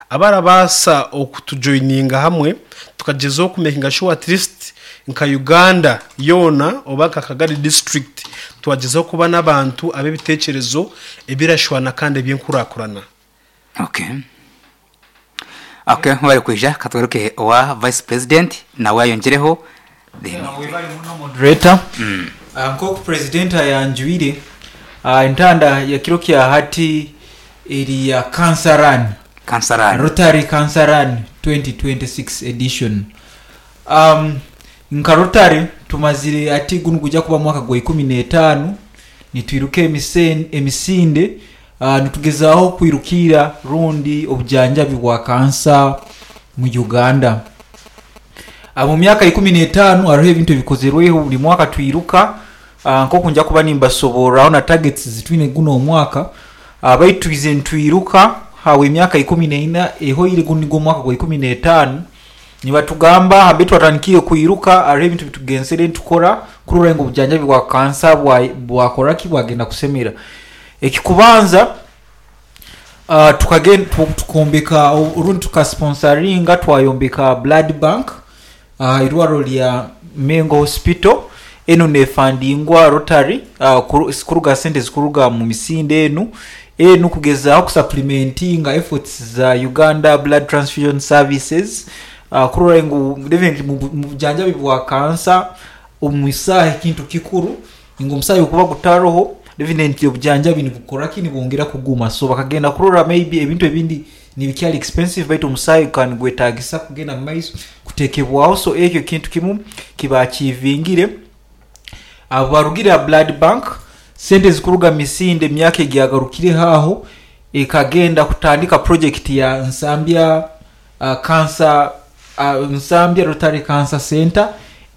Abarabaasa okutujoininga hamwe tukagyezaho kumekinga shuwa at least nka Uganda yoona oba nka Kagadi district twagyezaho kuba n'abantu ab'ebiteekyerezo ebirashwana kandi eby'enkurakurana. Okay. Okay, mwebale kwija katugaruke owa vice president nawe ayongyereho then. Webale muno moderator. Nkoku president ayanjwire, entanda ya kiro kya hati eri ya Cancer Run. Cancer Run. Rotary Cancer Run 2026 edition. Nka Rotary tumazire hati gunu nigwija kuba mwaka gwa ikumi n'etaanu nitwiruka emisinde nitugezaaho kwirukiira rundi obujanjabi bwa kansa mu Uganda. Mu myaka 15 haroho ebintu ebikozerweho buli mwaka twiruka nk'oku nja kuba nimbasoborraho na targets zitwine gunu omwaka baitu twizire nitwiruka habw'emyaka 14 ehoire gunu nigwo omwaka gwa 15 nibatugamba nambere twatandikiire kwiruka haroho ebintu ebitugenzere nitukora kurora ngu obujanjabi bwa kansa bwakora ki bwagenda kusemera. Ekikubanza tukombeka rundi tukasiponsaringa twayombeka blood bank aha irwarro lya Mengo Hospital. Enu nefandingwa Rotary kuruga ha sente ezikuruga mu misinde enu. Enu kugezaaho kusapulimentinga efforts za Uganda Blood Transfusion Services kurora ngu definitely mu bujanjabi bwa kansa omusaahi kintu kikuru ngu omusaahi obu gukuba gutaroho definitely obujanjabi nibukora ki nibwongera kuguma. So bakagenda kurora maybe ebintu ebindi nibikyali expensive baitu omusaahi gukaba nigwetagisa kugenda mu maiso kutekebwaho so ekyo kintu kimu kibaachievingire. Abo barugire aha blood bank, sente ezikuruga mu misinde emyaka egiyagarukireho aho ekagenda kutandika project ya Nsambya Cancer Nsambya Rotary Cancer Centre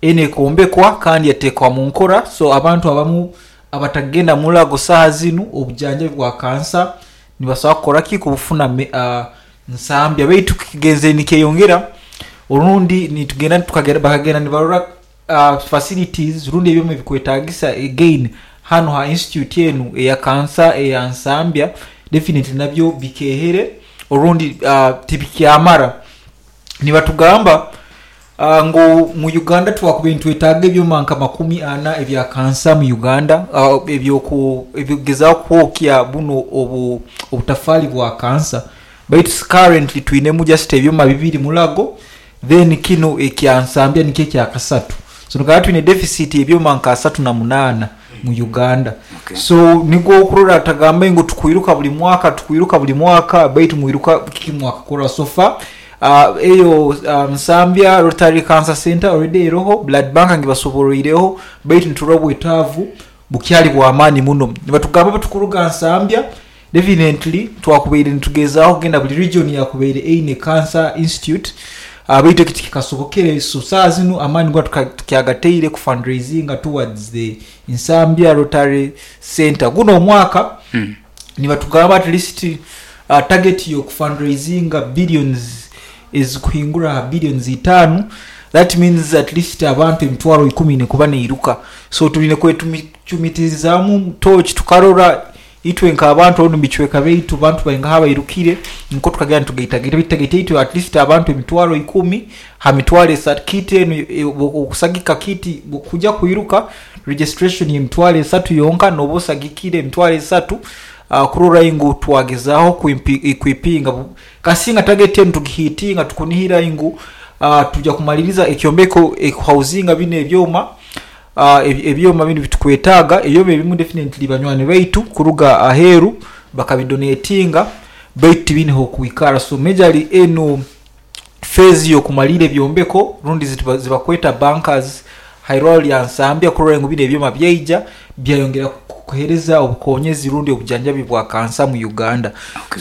enu ekombekwa kandi yatekwa mu nkora so abantu abamu abatakugenda murago saaha zinu obujanjabi bwa kansa nibasobora kukora ki kubufuna Nsambya baitu kigenzere nikyeyongera orundi nitugenda bakagenda nibarora facilities rundi ebyoma ebikwetagisa again hanu ha institute enu eya kansa eya Nsambya definitely nabyo bikehere orundi tibikyamara. Nibatugamba ngu mu Uganda twakubaire nitwetaaga ebyoma nka makumi ana ebya kansa mu Uganda eby'okugezaaho kwokya bunu obutafaali bwa kansa baitu currently twinemu just ebyoma bibiri Mulago then kinu ekya Nsambya nikyo ekyakasatu. So nikaba twine deficit y'ebyoma nka asatu na munaana mu Uganda. So nikwo okurora tagambe ngu tukwiruka buli mwaka, tukwiruka buli mwaka baitu mwiruka kiki mwakakora so far. Eyo Nsambya Rotary Cancer Centre already eroho, blood bank ngibasoboroireho baitu niturora obwetaavu bukyali bw'amaani muno. Nibatugamba obutukuruga Nsambya Definitely twakubaire nitugezaaho kugenda buli region yakubaire eine cancer institute baitu ekyo tikikasobokere so saaha zinu amaani goona tukyagataire ku fundraisinga towards the Nsambya Rotary Centre. Guno omwaka nibatugamba at least target yoku fundraisinga billions ezikuhingura aha billions itaanu that means at least abantu emitwaro ikumi eine kuba neiruka so twine kwecumiitirizaamu torch tukarora Itwe nk'abantu omu bicweka byaitu bantu baingaha abairukire nikwo tukagenda nitugaitagaita baitu target yaitu at least abantu emitwaro ikumi ha mitwaro esatu kit enu okusagika kit kuja kwiruka registration y'emitwaro esatu yonka noba osagikire emitwaro esatu kurora ngu twagezaaho equipinga kasinga target enu tugihitinga tukunihira ngu tuja kumaliriza ekyombeko ekuhauzinga binu ebyoma Ebyoma binu bitukwetaaga, ebyoma ebimu definitely banywani baitu kuruga aheeru bakabidonetinga baitu tibiine h'okwikara so majorly enu phase y'okumaliira ebyombeko rundi zibakweta bunkers ha irwarro lya Nsambya kurora ngu binu ebyoma byaija byayongera kuheereza obukonyezi rundi obujanjabi bwa kansa mu Uganda.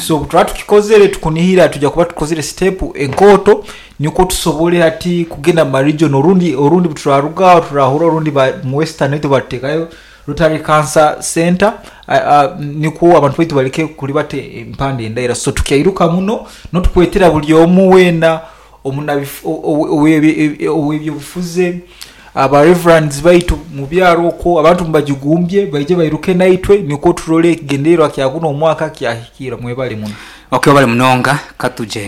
So obuturaba tukikozere tukunihira twija kuba tukozere step enkooto Nikwo tusobole hati kugenda mu ma region orundi orundi buturaruga aho turahura orundi ba mu western baitu batutekayo Rotary Cancer Centre nikwo abantu baitu baleke kulibata empanda endaira so tukyairuka muno notukwetera buli omu weena ow'ebyobufuzi aba reverends baitu mu byaro okwo abantu mubajugumbye baije bairuke naitwe nikwo turole ekigendererwa kya guno omwaka kyahikirra. Mwebale muno. Ok webale munonga katugyende.